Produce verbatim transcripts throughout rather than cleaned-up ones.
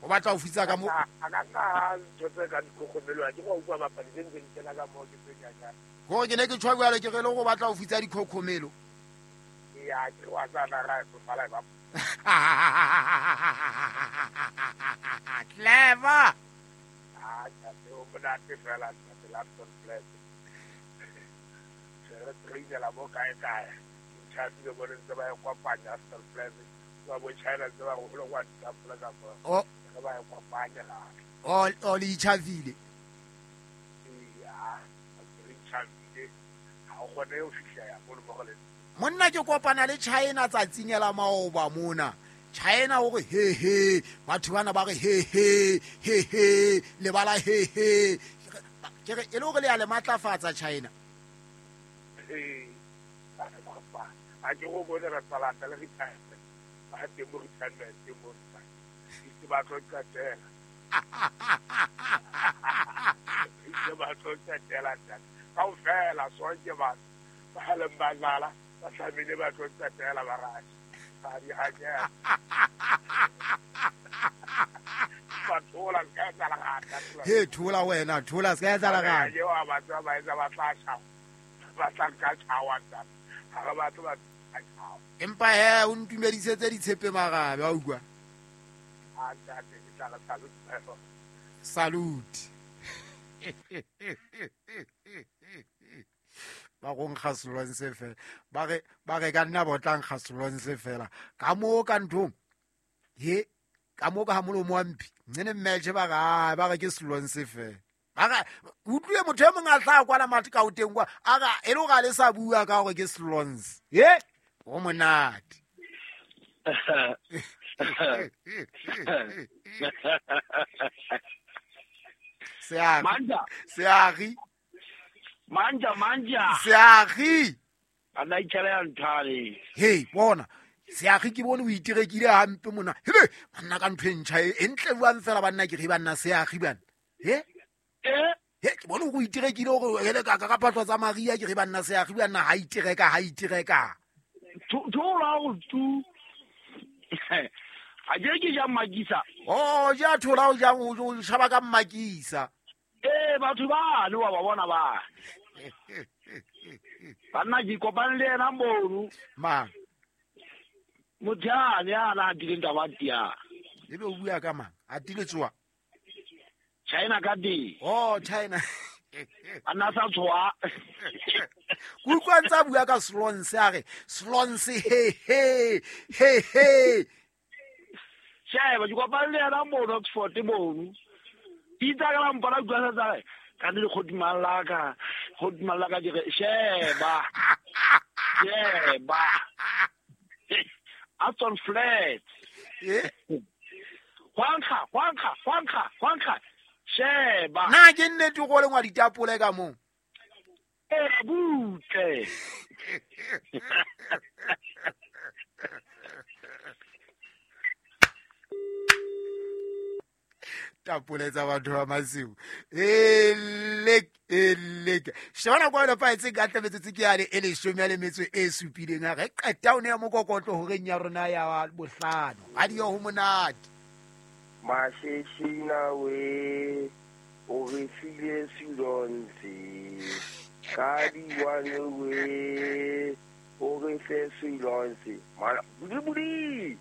O batla ho fitsa ka mo a ka ka ntho tse ka dikhokhomelo ke go utlwa bapadi tse ntse di kena ka mo ke tse nyanyana. Go ke ne ke tshwa jwale ke re le go batla ho fitsa dikhokhomelo. Ya ke wa tsana ra e fala ba. Clever. Ah, ke o monate fela ntate Lapton Flat. Re trainela mo kae kae. Tšhabile bone ntse ba e kopanya Aston Flat. Ba bo China ntse ba go go kwa ditapole ka mo. Oh, ba e kopanya la. Oh, o le itjhavile. Ya, re itjhavile. Ha o kgone ho fihla ya mo mo go le. Monna ke kopana le China tsatsing la maoba mona. China o re he he, batho bana ba re he he, he he, le bala he he. Ke re e le hore le ya le matlafatsa China. Eh, a ke go bone re tsalata le retirement. Ba teng mo retirement mo. Itse ba tlo qetela. Itse ba tlo qetela ntate. Kaofela sonke batho ba leng ba dlala ba tlamehile ba tlo qetela ba rate. Ba di hanyela. Ba thola se ka etsahala gata. He thola wena, thola se ka etsahala gata. Eo a batho ba etsa ba tla tjha. Ba tla nka tjhawa ntate. Ha re batle ba tjhawa. Empa he o ntumedisetse ditshepe marabe wa utlwa. A ntate ke tla re salute. Salute. Ba go nkga selonse fela. Ba re ba re ka nna botla nkga selonse fela. Ka mo ka nthong. He ka mo ka ha molomo wa mphi. Nne mmetjhe ba ga ba re ke selonse fela. Ba ga utlwe motho e mong a tla kwala mathe ka o teng kwa. A ga e le ga le sa bua ka hore ke selonse. He o monate. Seagi. Manja. Seagi. Manja manja. Seagi. Ana itjhela ya nthale. Hey, bona. Seagi ke bone o itirekile hampe mona. Hele, banna ka ntho e ntjha e ntle buang fela banna ke re banna seagi bana. He? Eh? He, ke bone o itirekile hore hele ka ka patlo tsa Maria ke re banna seagi bana ha itireka ha itireka. Thola o tu. A je ke ja makisa. Oh, ja thola o jang o shaba ka makisa. Eh, batho ba le wa ba bona ba. Banna ke kopane le yena mono. Mang? Motho ya na dileng taba tia. Ebe o bua ka mang? A tile tsoa. China ka di. Oh, China. Ana sa tsoa. Ke utlwa ntsa bua ka selonse a re selonse he he he he. Sheba ke kopane le yena mono Oxford mono. Itsa ka la mpona utlwa sa tsa ka le kgodima la ka kgodima la ka ke re sheba. Sheba. Aston Flat. Eh? Hwankga, hwankga, hwankga, hwankga. Sheba. Na ke nnete go lengwa ditapole ka mo. Eh, butle. Tapole tsa batho ba masiu. Elek elek. Shebana kwa le paetse ka tlametse ke yane e leshome le metso e supileng ha re qeta o ne mokokotlo horeng ya rona ya bohlano. Radio ho monate. Masheshina we o re file silonse. Ka di one we o re fe silonse. Mara budi budi.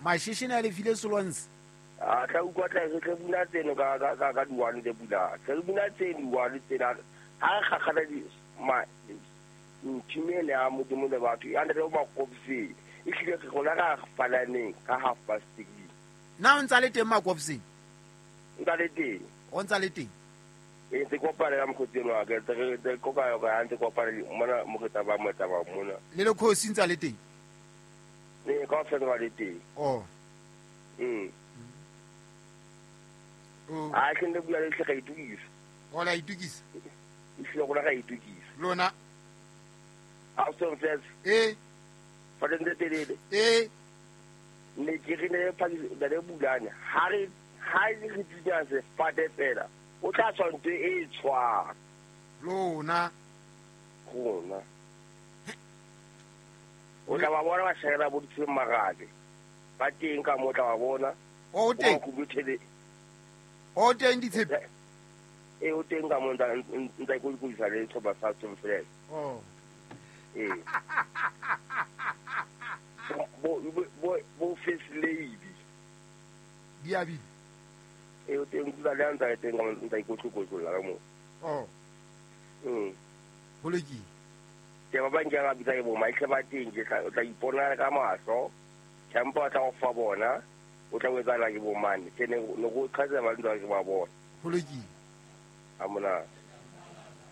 Masheshina le file silonse. A tla utlwa tla re tle bula tseno ka ka ka ka di-one tse bula. Tle re bula tse di-one tsena. Ha re kgakgana di ma nthimele ya Modimo le batho. Ya re o makopseng. E hlile re rona ka falaneng ka half past three. Na o ntsa le teng makopseng? Ntsa le teng. O ntsa le teng? E ntse kopana ka mokgotsi wa ka. Ntse re ntse kopa ka ntse kopana mona mokgotsa ba motsa ba mona. Le le khosi ntsa le teng? Ne ka fela ba le teng. Oh. Mm. Oh. A ke ne bua le tle ga itukisa. O la itukisa? E hlile go la ga itukisa. Lona. A so fes. Eh. Fa le ntse telele. Eh. Ne ke re ne pa le bulane. Ha re ha re tsitsa se fate fela. O tla tswa ntwe e tshwa. Lona. Rona. O tla ba bona ba shera bo ditshwe marabe. Ba teng ka mo tla ba bona. O teng. O teng ditshepe. E o teng ka mo ntsa ntsa ikokodisa le sehlopha sa Tsomfela. Oh. Eh. Bo bo bo first lady. Diabi. E o teng kula le ntsa teng ka mo ntsa ikotlokotlola ka mo. Oh. Mm. Ho lokile. Ke ba bang ke ga bitsa ke bo maitlhe ba teng ke tla tla ipona ka mahlo. Tempo tla go fa bona. O tla wetsa la ke bo mane. Ke ne no go qhatsa ba ntsa ke ba bona. Ho lokile. Amona.